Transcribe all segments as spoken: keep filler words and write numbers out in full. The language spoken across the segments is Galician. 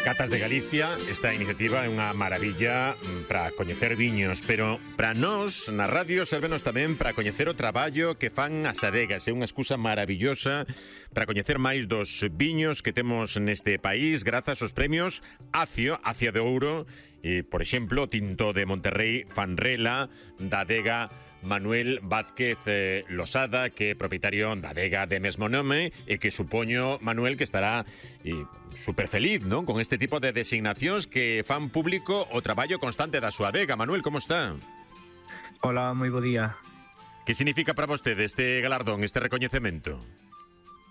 Catas de Galicia, esta iniciativa é unha maravilla para coñecer viños, pero para nós, na radio, servenos tamén para coñecer o traballo que fan as adegas. É unha excusa maravillosa para coñecer máis dos viños que temos neste país grazas aos premios Acio, Acia de Ouro, e, por exemplo, Tinto de Monterrey, Fanrela, da adega Manuel Vázquez eh, Losada, que é propietario da adega de mesmo nome, e que supoño, Manuel, que estará eh, super feliz, non? Con este tipo de designacións que fan público o traballo constante da súa adega. Manuel, como está? Hola, moi bo día. Que significa para vostede este galardón, este recoñecemento?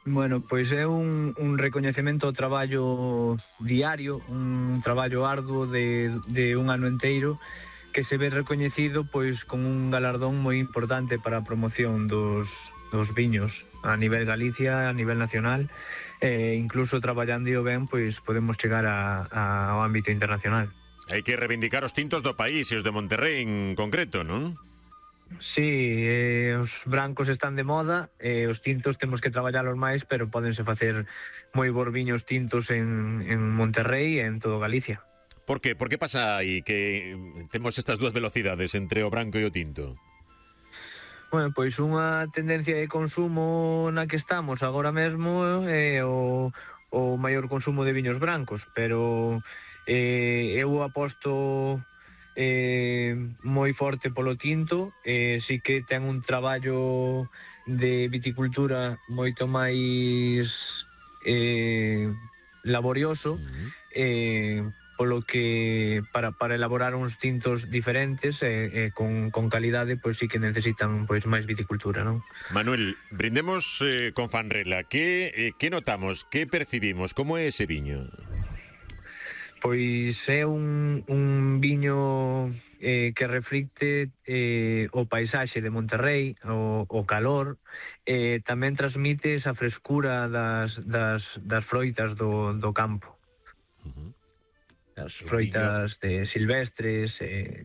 Bueno, pois é un, un recoñecemento ao traballo diario, un traballo arduo de, de un ano enteiro, que se ve recoñecido pois con un galardón moi importante para a promoción dos, dos viños a nivel Galicia, a nivel nacional, e incluso traballando ben, pois podemos chegar a, a, ao ámbito internacional. Hai que reivindicar os tintos do país e os de Monterrey en concreto, non? Sí, eh, os brancos están de moda, e os tintos temos que traballalos máis, pero pódense facer moi bons viños tintos en, en Monterrey e en todo Galicia. Por que? Por que pasa aí que temos estas dúas velocidades entre o branco e o tinto? Bueno, pois unha tendencia de consumo na que estamos agora mesmo é o, o maior consumo de viños brancos, pero eh, eu aposto eh, moi forte polo tinto, e eh, sí que ten un traballo de viticultura moito máis eh, laborioso, uh-huh. eh, polo que para, para elaborar uns tintos diferentes e eh, eh, con, con calidade, pois sí que necesitan pois máis viticultura, non? Manuel, brindemos eh, con Fanrela. Que, eh, que notamos, que percibimos, como é ese viño? Pois é un, un viño eh, que reflicte eh, o paisaxe de Monterrey, o, o calor, eh, tamén transmite esa frescura das, das, das froitas do, do campo. Uh-huh. As froitas de silvestres. Eh...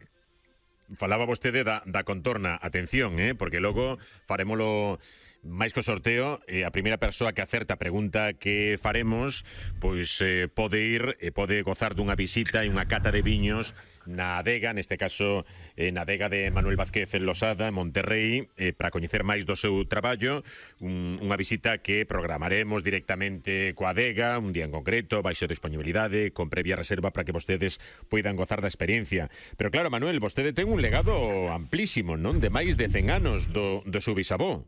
Falaba vostede da, da contorna. Atención, eh, porque logo farémolo máis co sorteo, e a primeira persoa que acerta a pregunta que faremos, pois eh, pode ir e pode gozar dunha visita e unha cata de viños na adega, neste caso eh, na adega de Manuel Vázquez Losada, en Monterrey, eh, para coñecer máis do seu traballo, un, unha visita que programaremos directamente coa adega, un día en concreto, baixo disponibilidade, con previa reserva para que vostedes poidan gozar da experiencia. Pero claro, Manuel, vostede ten un legado amplísimo, non? De máis de cen anos do, do seu bisavó.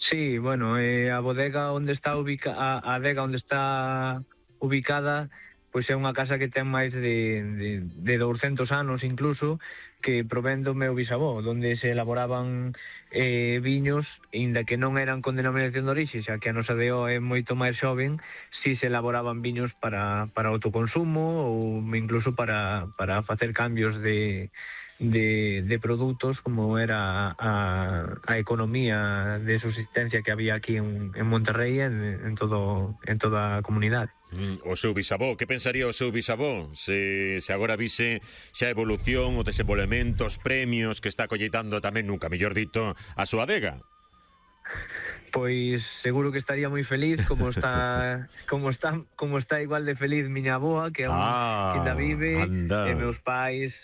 Sí, bueno, eh, a bodega onde está ubica a, a adega onde está ubicada, pois é unha casa que ten máis de, de, de douscentos anos incluso, que provén do meu bisavó, onde se elaboraban eh, viños, inda que non eran con denominación de orixe, xa que a nosa D O é moito máis xoven, si se elaboraban viños para, para autoconsumo ou incluso para, para facer cambios de De, de produtos, como era a, a economía de subsistencia que había aquí en, en Monterrey, en, en, todo, en toda a comunidade. Mm, o seu bisavó, que pensaría o seu bisavó se, se agora vise xa a evolución, o desenvolvemento, os premios que está colleitando tamén, nunca mellor dito, a súa adega? Pois seguro que estaría moi feliz, como está como está como está igual de feliz miña avoa, que aún ah, ainda vive, anda. E meus pais